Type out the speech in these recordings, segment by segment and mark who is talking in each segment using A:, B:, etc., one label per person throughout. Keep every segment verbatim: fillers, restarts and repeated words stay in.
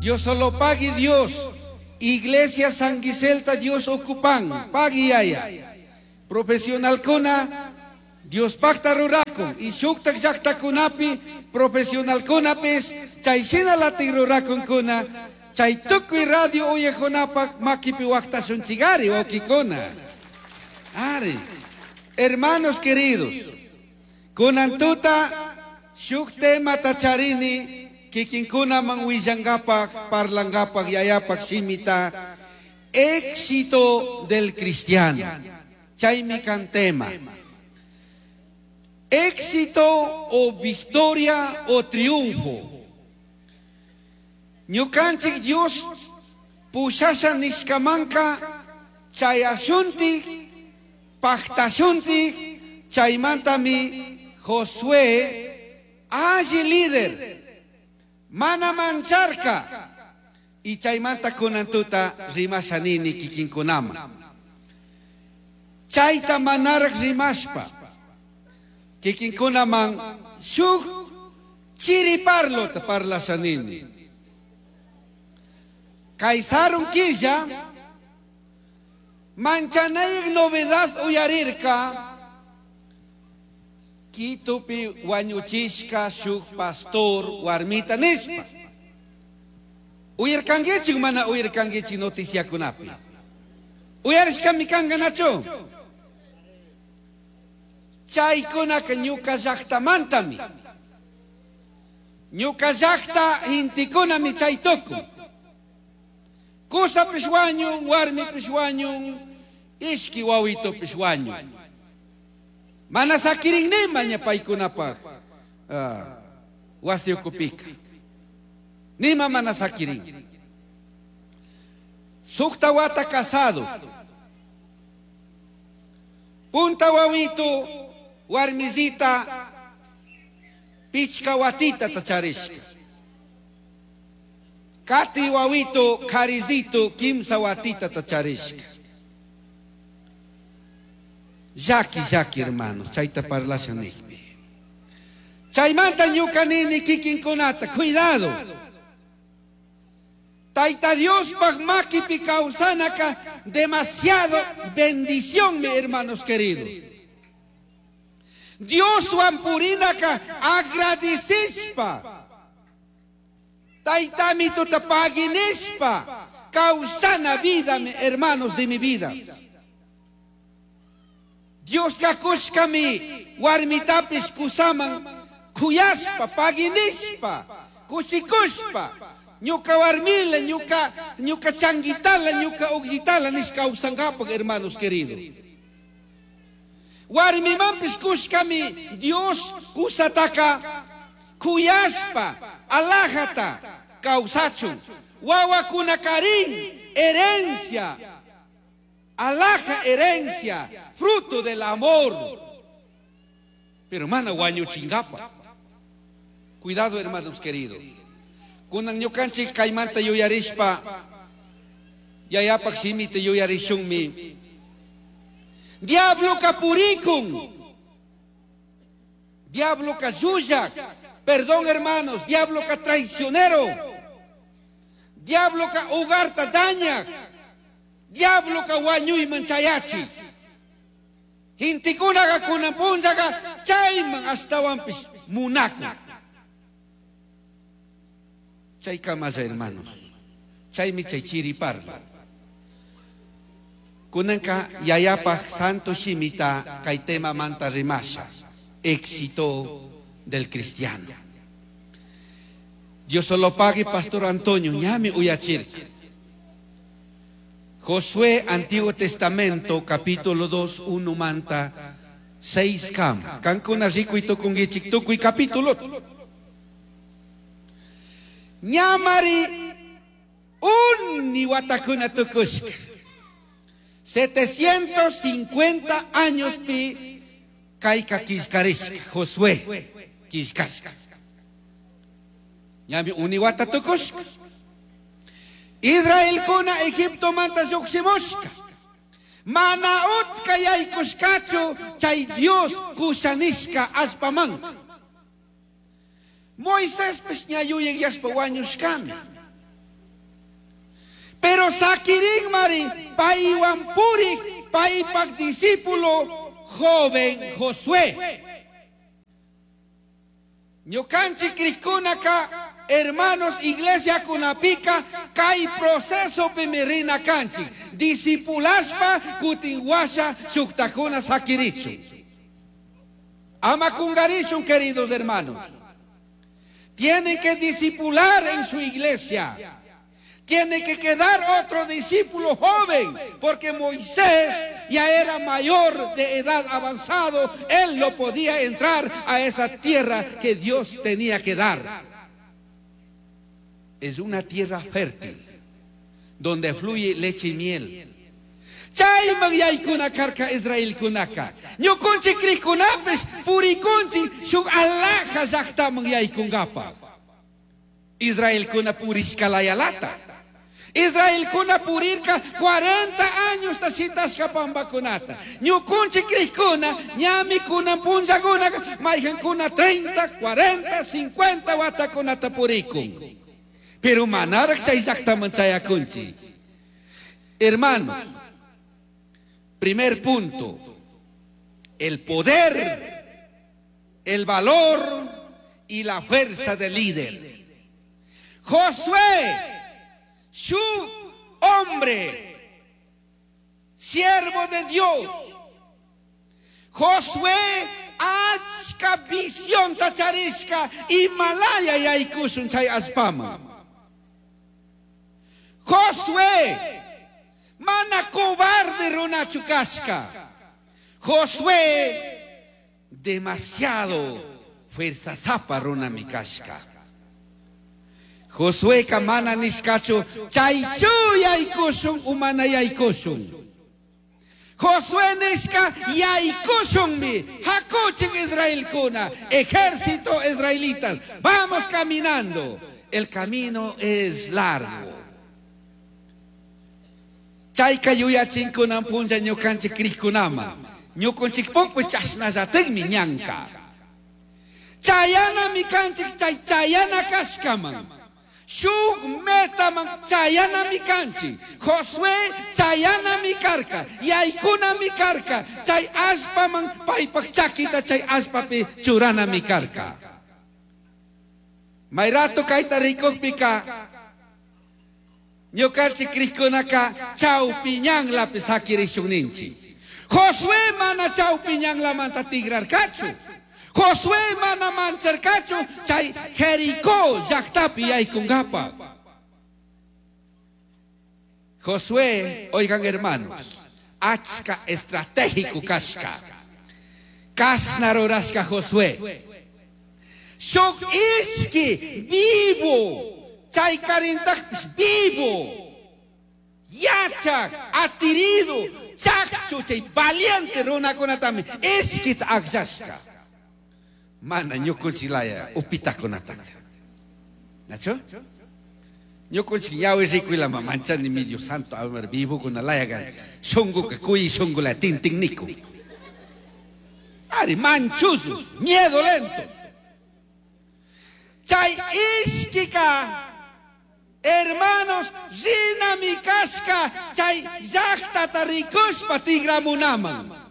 A: Dios solo pagui Dios. Iglesia San Giselta Dios ocupan. Pagui yaya. Profesional kuna Dios pacta rurakun. Y shuktak llaqtakunapi profesional kunapis chay shina latin rurakun kuna. Chay tukuy radio uyajkunapak makipi waqtashunchigari wawkikuna. Ari. Hermanos queridos, kunan tuta shuk temata charini kikinkunaman willangapak, parlangapak, yayapak shimita, éxito del cristiano. Chaymi kan tema. Éxito o victoria o triunfo. Ñukanchik Dios pushasha nishkamanka chayashuntik, paktashuntik, chaymantami Josué alli líder, mana mancharka, y chaymanta kunantuta rimashanini kikinkunama. Chayta manarak rimashpa, kikinkunaman shuk chiriparlota parlashanini. Kay sarun killa, manchanayik novedad uyarirka, Quitupi wañuchishka shuk pastor warmita nishpa. Uyarkankichik mana uyarkankichik noticiakunapi. Uyarishkami kanka nachu. Chaykunaka ñuka llaqtamantami. Ñuka llaqta intikunami chay tukun. Kusapish wañun, warmipish wañun, ishki wawitupish wañun. Mana sakirin nima ña paykunapaq uh, wasi ukupika. Nima mana sakirin. Sukta wata casado. Punta wawitu warmizita pichka watita tacharishka. Kati wawitu karizito kimsa watita tacharishka. Llaki, llaki, hermanos, chayta parlasha nijpi. Chaymanta ñuka nini kikinkunata, cuidado. Tayta Diospaj makipi kawsanaka demasiado bendición, mi hermanos queridos. Dioswan purinaka agradecishpa. Taytami tuta paginishpa. Kawsana vida, mi hermanos de mi vida. Dios kakushkami warmitapis kusaman kuyaspa, paginishpa, kushikushpa, ñuka warmila, ñuka, ñuka changuitala, ñuka ugjitala nishka kawsankapak, hermanos queridos. Warmimanpis kushkami Dios kusataka kuyaspa, alajata, kawsachun, wawakunakarin, herencia, alhaja herencia, fruto del amor. Pero hermana, wañuchingapa. Cuidado, hermanos queridos. Kunan ñukanchik kaymanta yuyarishpa, yayapak shimita yuyarishunmi. Diablo kapurikun. Diablo kayuyak. Perdón, hermanos, diablo ka traicionero. Diablo ka hogarta daña. Diablo ka wañuyman chayachi. Hintikunaqa kunan punllaqa chayman astawanpis munakun. Chay kamalla, hermanos. Chaymi chay chiri parla. Kunanka yayapaj santo shimita kay tema manta rimasha. Éxito del cristiano. Dios solo pague, Pastor Antonio, ñami uyachirka. Josué, Antiguo Testamento, capítulo dos, uno manta, seis kam. Kankuna riku y tukungichik tukuy capítulo. Ñamari unni watakuna tukushka. setecientos cincuenta años pi kayka killkarishka, Josué killkashka. Ñami uni wata tukushka. Israel kuna Egipto manta lluqshimushka. Mana utka yaykushkachu chay Dios kushanishka allpamanka. Moisés pis ña yuyaq yashpa wañushkami. Pero sakirin mari paywan purik paypak discípulo joven Josué. Ñukanchik krikkunaka hermanos iglesia kunapika kay proceso rina kanchik discipulashpa kutin washa shuktakuna sakirichun. Ama kungarishun, queridos hermanos. Tienen que discipular en su iglesia. Tiene que quedar otro discípulo joven, porque Moisés ya era mayor de edad avanzado. Él no podía entrar a esa tierra que Dios tenía que dar. Es una tierra fértil, donde fluye leche y miel. Chayman yaykuna karka Israelkunaka. Ñukunchik krikkunapish purikunchik shuk alaja llaqtaman yaykunkapaq. Israelkuna purishkalayalata. Israelkuna purirka cuarenta años shitashka pambakunata. Ñukunchik krikkuna ñami kunan punllakuna mayqankuna treinta, cuarenta, cincuenta watakunata purikun. Pero manaraq chay llaqtaman chayakunchik. Hermano, primer punto, el poder, el valor y la fuerza del líder. Josué, su hombre, siervo de Dios. Josué, achka visión tacharishka Himalaya yaykushun chay allpaman. Josué, mana cobarde runachu kashka. Josué, demasiado fuerza zapa runami kashka. Josué mana nishkachu chaychu yaykushun umana yaykushun. Josué nishka yaykushunmi hakuchik israelkuna, ejército israelitas, vamos caminando. El camino es largo. Chayka yuyachinkunan punlla ñukanchik krikkunaman. Ñukunchikpukpis chashnallatikmi ñanka. Chayanami kanchik chay chayana kashkaman. Shuk metaman chayanami kanchik. Josué chayanami karka. Yaykunami karka. Chay allpaman paypak chakita chay allpapi churanami karka. Mayrato kayta rikukpika ñukanchik krikkunaka chawpiñanlapi sakirishunninchik. Josué mana chawpiñanlamanta tigrarkachu. Josué mana mancharkachu chay Jericó llaqtapi yaykunkapaq. Josué, oigan hermanos, achka estratégico kashka. Kashna rurashka Josué. Shuk ishki vivo. Chay karintakpis vivo. Yachak, atirido, chakchu, chay valiente runakunatami ishkita akllashka. Mana ñukunchilaya upitakunataka. ¿Nacho? Ñukunchik ñawi rikuylama manchani mi Dios santo, a ver, vivo con la shunguka kuy shungula tintinniku. Ari manchuzu, miedo lento. Chay ishkika hermanos, rinami kashka chay llaqtata rikushpa tigramunaman.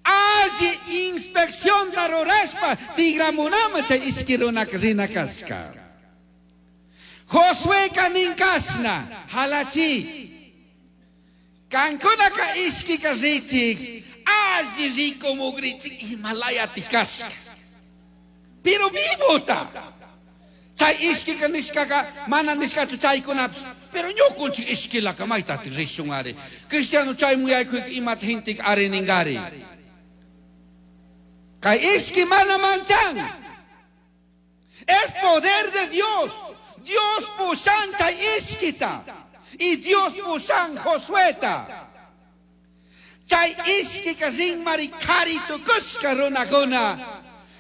A: Alli inspección rurashpa tigramunaman chay ishki runaka rina kashka. Josué kaninkashna halachi. Kankunaka ishkika richik alli rikumugrichik Himalaya tikashka. Pero vivota. Chay ishkika nishkaka mana nishkachu chaykunapis. Pero ñukunchik ishkilaka maytatik rishun ari. Cristiano chay muyaykuy imata hintik ariningari. Kay ishki mana manchan. Es poder de Dios. Dios pushan chay ishkita. Y Dios pushan Josueta. Chay ishkika rinmari kari tukushka runakuna.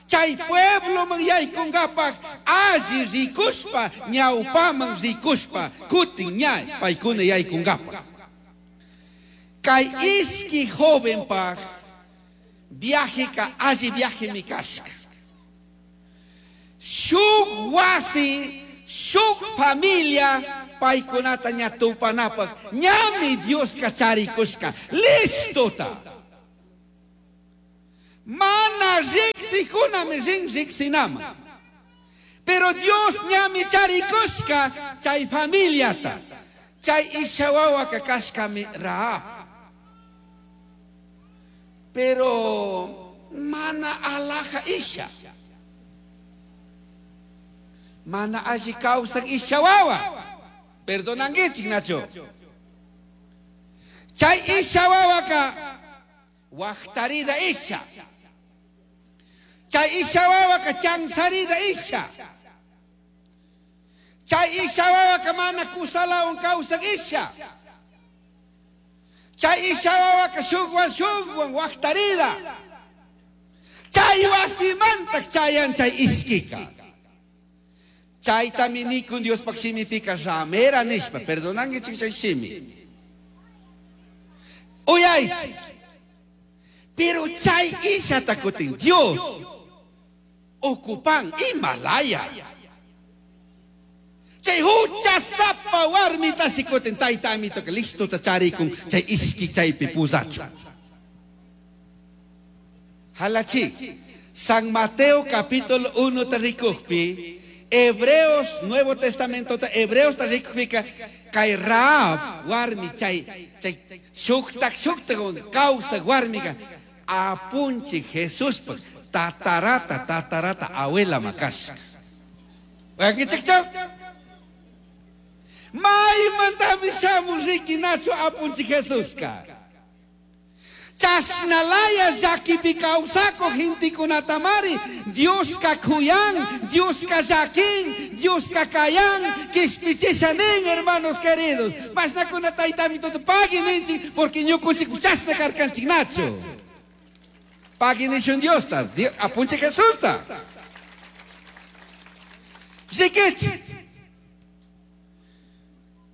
A: Chay pueblo man yaykunkapaq alli rikushpa ñawpaman rikushpa kutin ña paykuna yaykunkapaq. Kay ishki jovenpaq viajeka alli viaje mi kashka. Shuk wasi Shuk familia paykunata ña tupanapaq ñami Dioska charikushka listota. Mana riqsikunami rin riqsinama. Pero Dios ñami charikushka chay familiata. Chay isha wawaka kashkami Rahab. Pero mana alaja isha. Mana alli kawsak isha wawa. Perdonanguichik Nacho. Chay isha wawaka waqtarida isha. Chay isha wawaka chansarida isha. Chay isha wawaka mana kusalawan kawsak isha. Chay isha wawaka shukwan shukwan waqtarida. Chay wasimantak chayan chay ishkika. Chaytami nikun Diospaq shimipika ramera nishpa, perdonanguichik chay shimi. Uyaychik. Pero chay ishata kutin Dios ocupan Himalaya. Chay huchasapa warmita sikutin tayta amito que listo ta charikun chay ishki chaypi pusachu. Halachi. San Mateo capítulo uno ta rikukpi, Hebreos, Nuevo Testamento ta Hebreos ta rikukpika kay Rahab warmi chay chay shuktak shuktak kawsak warmika apunchi Jesuspaq tatarata tatarata abuela makashka. Wakichikchaw? Maymantami shamun riki Nacho apunchi Jesuska. Chashnalaya llakipi kawsako gentikunatamari Dioska kuyan, Dioska llakin, Dioska kayan, kishpichisha nin, hermanos queridos. Mashnakuna taytami todo pagui ninchik porque ñukunchik chashna karkanchik Nacho. Pagui nishun Diosta, apunchi Jesusta. Rikichik.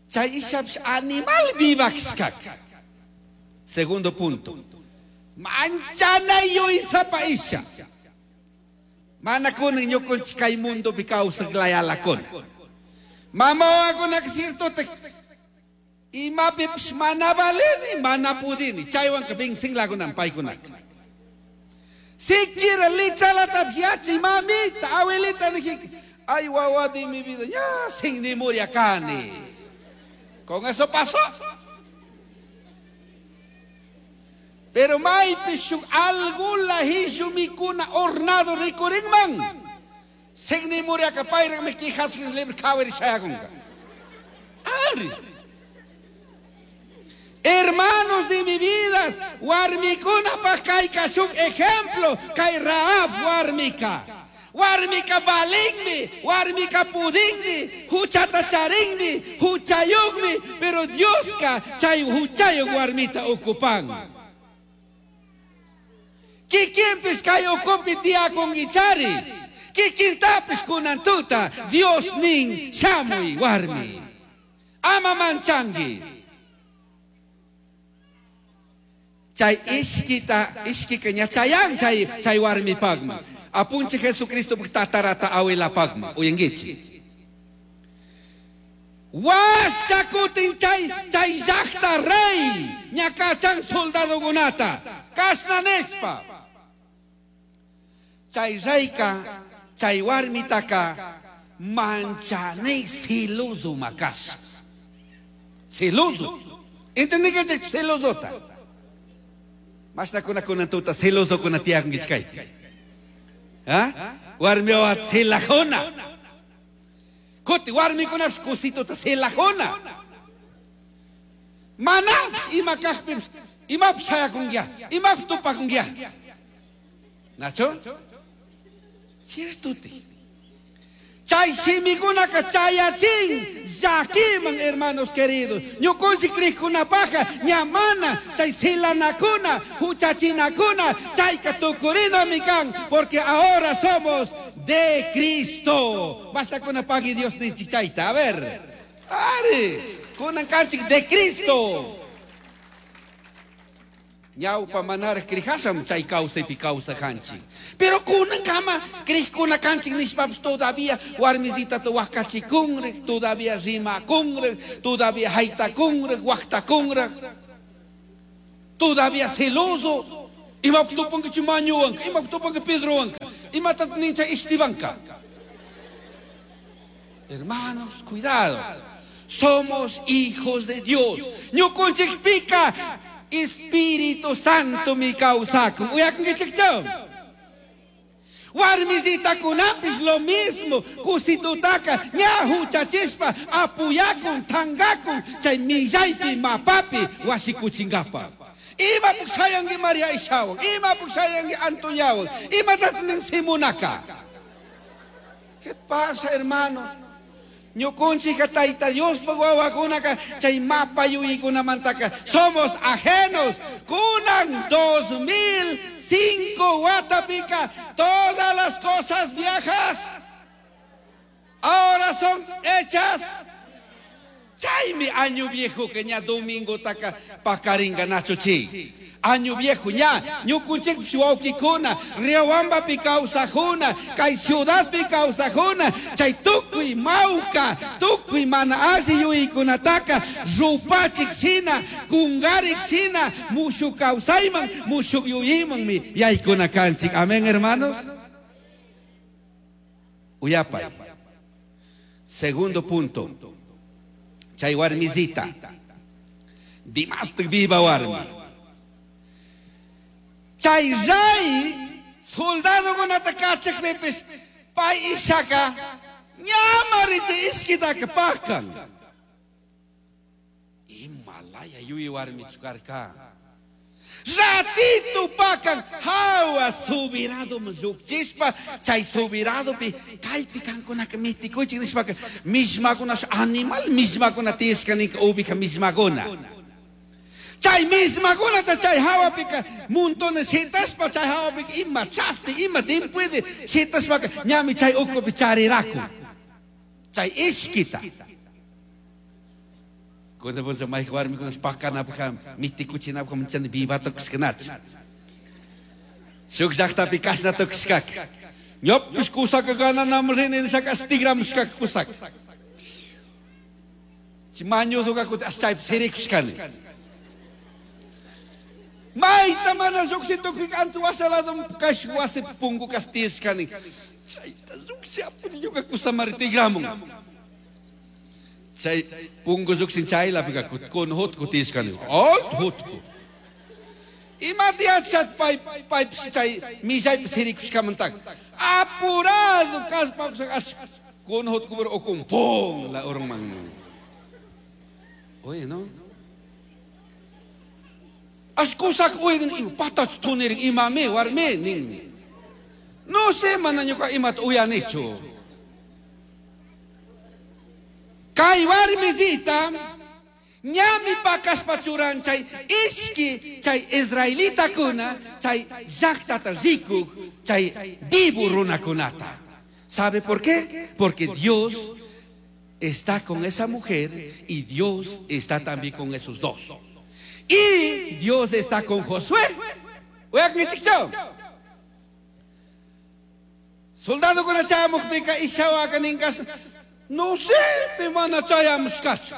A: Chay ishapish animal vivakshkak. Segundo punto. Manchana yuysapa isha. Mana kunan ñukunchik kay mundopi kawsak layalakuna. Mama wawakunaka cierto imapipish mana valini, mana pudini. Chaywanka vincinlakunan paykunaka. Siquiera litralatapish yachay mamita, abuelita dije, ay wawa de mi vida, ya sin ni muriakani. Con eso pasó. Pero maypi shuk algula hishu mikuna hornado rikurinman. Sin ni muriaka payraqmi quijasqin libre kawari shayakunqa. Ari. Hermanos de mi vida, warmikunapaq kayka shuk ejemplo, kay Rahab warmika. Warmika balinmi, warmika pudinmi, huchata charinmi, huchayuqmi, pero Dioska chay huchayuq warmita ocupan. Kikinpis kay ukupi tiyakunkichari, kikintapis kunantuta, Dios nin shamuy warmi. Ama manchanki. Chay ishkita, ishkika ña chayan chay, chay warmipaqman. Apunchi Jesucristo tatarata abuelapaqman. Uyankichik. Washakutin chay, chay llaqta rey ñakachan soldadokunata. Kashna nishpa. Chay reyka, chay warmitaka manchanay siluzu makash. Siluzu. ¿Entendí que siluzota? Mashnakuna kunantuta siluzukuna tiyakunkichkay. ¿Ah? Warmiwa silajuna. Kuti warmikunapish kusituta silajuna. Manapish ima kaqpipish imapish shayakunkiya, imapish tupakunkiya. Nacho? Cierto ti. Chay shimikunaka chayachin llakiman, hermanos queridos. Ñukunchik kriqkunapaqa ñamana chay silanakuna, huchachinakuna, chayka tukurinami kan, porque ahora somos de Cristo. Basta con pagui Dios ninchik chayta. A ver. Ari, kunan kanchik de Cristo. Ñawpa manaraj crijasham chay kawsaypi kawsakanchik. Pero kunankama crijkuna kanchik nishpapish todavía warmisitata waqachikunraj, todavía rimakunraj, todavía haytakunraj, waqtakunraj. Todavía celoso. Imap tupanka Chimañuwanka, imap tupanka Pedrowanka, imatat nincha Estebanka. Hermanos, cuidado. Somos hijos de Dios. Ñukunchikpika Espíritu Santo mi kawsakun. Uyakunkichikchu? Warmisitakunapis lo mismo. Kusitutaka ña huchachispa apuyakun, tangakun, chay millaypi mapapi wasikuchinkapa. Ima puksayanki María Ishawan, ima puksayanki Antoniawan, imatat nin Simonaka. ¿Qué pasa, hermanos? Ñukunchika Tayta Diospa wawakunaka chay mapa yuyaykunamantaka somos ajenos. Kunan dos mil cinco watapika todas las cosas viejas ahora son hechas. Chaymi año viejo que ña domingo taka pakaringa nacho chi. Año viejo ña ñukunchik wawkikuna Riobambapi kawsajuna kay ciudadpi kawsajuna chay tukuy mawka tukuy mana alli yuyaykunataka rupachik shina kungarik shina mushuk kawsayman mushuk yuyaymanmi yaykuna kanchik. Amén, hermanos. Uyapay. Segundo punto. Chay warmisita. Dimastik viva warmi. Chay ray soldadokunata kachakpipis pay ishaka ñamarichi ishkitaka pakan. Imalaya yuyi warmichu karka. Ratito pakan hawa subirado llukchispa chay subiradopi kaypi kankunaka mitikuychik nishpaka mishmakuna animal mishmakuna tiyashka ninka ubija mishmakuna. Chay mishmakunata chay hawapika montones shitaspa chay hawapika ima chasti ima timpuede shitashpaka ñami chay ukupi chariraku chay ishkita. Cuando vos llamáis warmikuna pakanapaj mitikuchinapaj manchani vivata kushkanachu. Shuk llaqtapi kashna tukushkaka. Ñopish kusaka gananam rini nishaka tigramushkaka kusaka. Chimañuzuka kuti chaypi sirikushkani. Mayta mana lluqshi tukuy anchu washalado kash wasi punku kas tiyashkani. Chayta lluqshi apuni ñuka kusamari tigramun. Chay punku lluqshin chaylapika kun hutku tiyashkani. Alt hutku. Imata yachat pay paypish chay millaypi sirikushkamantaka. Apurado kaspa as kun hutku pero ukun pum la urunman. Oye, no? As kusak uyan patach tunirin imame warme nin. No sé mana ñuka imata uyanichu. Kay warmisita ñami pakashpa churan chay ishki chay israelitakuna chay llaqtata rikuk chay vivo runakunata. ¿Sabe por qué? Porque Dios está con esa mujer y Dios está también con esos dos. Y Dios está con Josué. Soldado con la chamukpika ishawaka ninkas. No sé, pe mana chayamushkachu.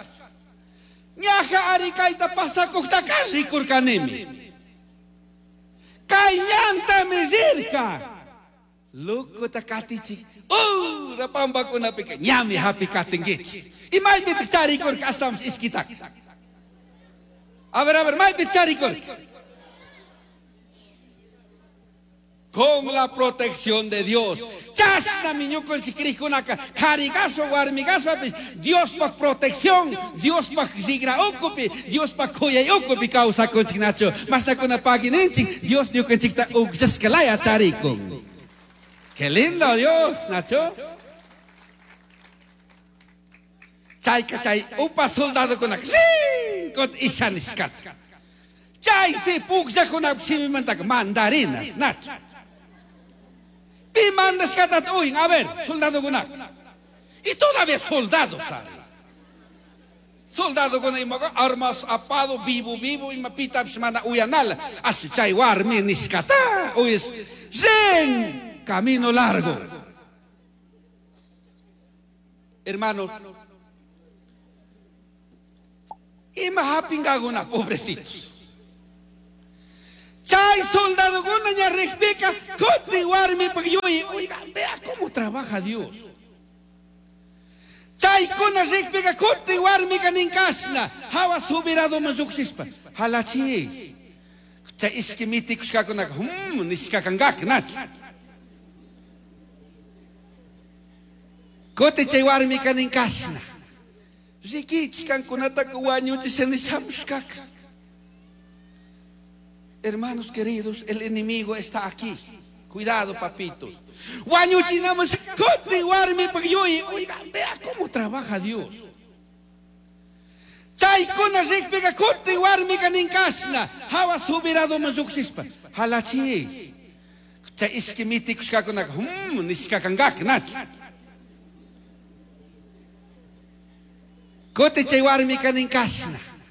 A: Ñaja arikayta pasakuqtaka rikurkanimi. Kay ñantami rirka. Lokuta katichik. Ura pampakunapika ñami hapi katinkichik. Imaypitaq charikurka ashtawanpis ishkitaka. A ver, a ver, maypi charikurka. Con la protección de Dios. Chasna ñukunchik crijkunaka karigaso warmigaspapish Diospaj protección, Diospaj rigra ukupi, Diospaj kuyay ukupi kawsakunchik nachu. Mashtakuna pagininchik, Dios ñukanchikta ukllashkalaya charikun. Qué lindo Dios, Nacho. Chayka chay upa soldadokunaka kot ishanishkata. Chay si pukllakuna shimimantaka mandarinas, Nacho. Pi mandashkata uyin, a ver, soldadokunaka. Y todavía soldados, ¿sabe? Soldadokuna imaqa armas apado vivo vivo ima pitapis mana uyanala. Así chay warmi nishkata uyas rin camino largo. Hermanos, ima hapingaguna pobrecitos. Chay soldadokuna ña rikpika kutin warmi yuyi. Oiga, vea cómo trabaja Dios. Chaykuna rikpika kutin warmika ninkashna hawa subiraduman lluqshishpa halachi. Chay ishki mitikushkakunaka hmm nishkakankaka nachu. Kutin chay warmika ninkashna rikichik kankunataka wañuchisha nishamushkaka. Hermanos queridos, el enemigo está aquí. Cuidado, papito. Wañuchinamos kutin warmi yuyi. Oiga, vea cómo trabaja Dios. Chaykuna rikpika kutin warmika ninkashna hawa subiraduman lluqshishpa halachi. Chay ishki mitikushkakunaka hmm nishkakankaka nachu. Kutin chay warmika ninkashna